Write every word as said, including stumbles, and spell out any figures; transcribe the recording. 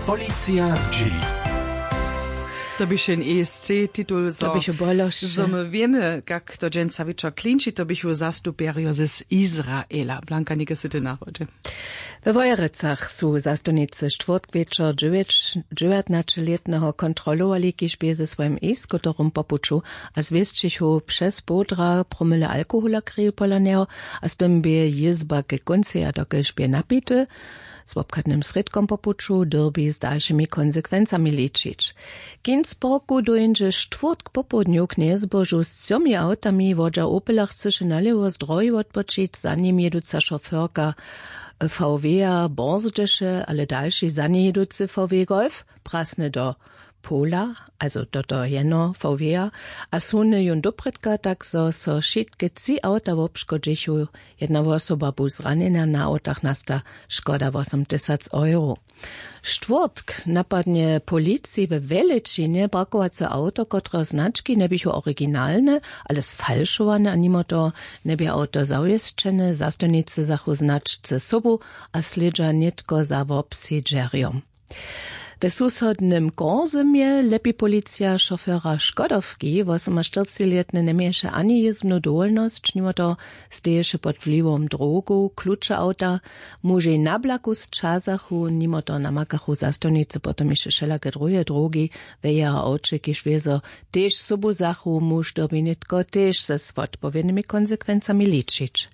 Policija zdźěli. To běše jesce titul zo běše bolo zo my wěmy kak to dźensa wječor klinči to běchu zastupjerjo z Izraela blanka něke sy ty na hodźe. We wojerecach su zastupnicy štwórtkwječor dźewjatnaćelětneho kontrolowali kiž bě ze swojim e-scooterom po puću a zwěsćichu přez połdra promyle alkohola kriju pola njeho. A z tym bě jězba ke kónceja dokelž bě napity z wobchadnym srědkom po puću dyrbi z dalšimi konsekwencami ličić. K innsbrucku dóńdźe štwórtk popołdnju k njezbožu z třomi awtami wodźa opela chcyše nalěwo z drohi wotpočić za nim jěduca šoferka vw-a borzdźeše ale dalši za njej jěducy vw-golf prasny do pola, also do toho jeno vw-a, a suny jón doprědka tak zo so wšitke tři awta wobškodźichu. Jedna wosoba bu zranjena na awtach nasta škoda wosom tysac euro. Štwórtk napadnje policiji we wjelećinje parkowace awto kotreho znački njeběchu originalne, ale sfalšowane a nimo toho njebě awto zawěsćene zastupnicy zachu značce sobu a slědźa nětko za wobsedźerjom. We susodnym korzymje lepi policija šofera škodowki wosomaštyrcilětny njeměješe ani jězbnu dowolnosć nimo toho steješe pod wliwom drogow kluče awta. Mužej na blaku sćazachu nimo toho namakachu zastupnicy potom hišće wšelake druhe drogi we jeho awće kiž wězo tež sobuzachu muž dyrbi nětko tež z wotpowědnymi konsekwencami ličić.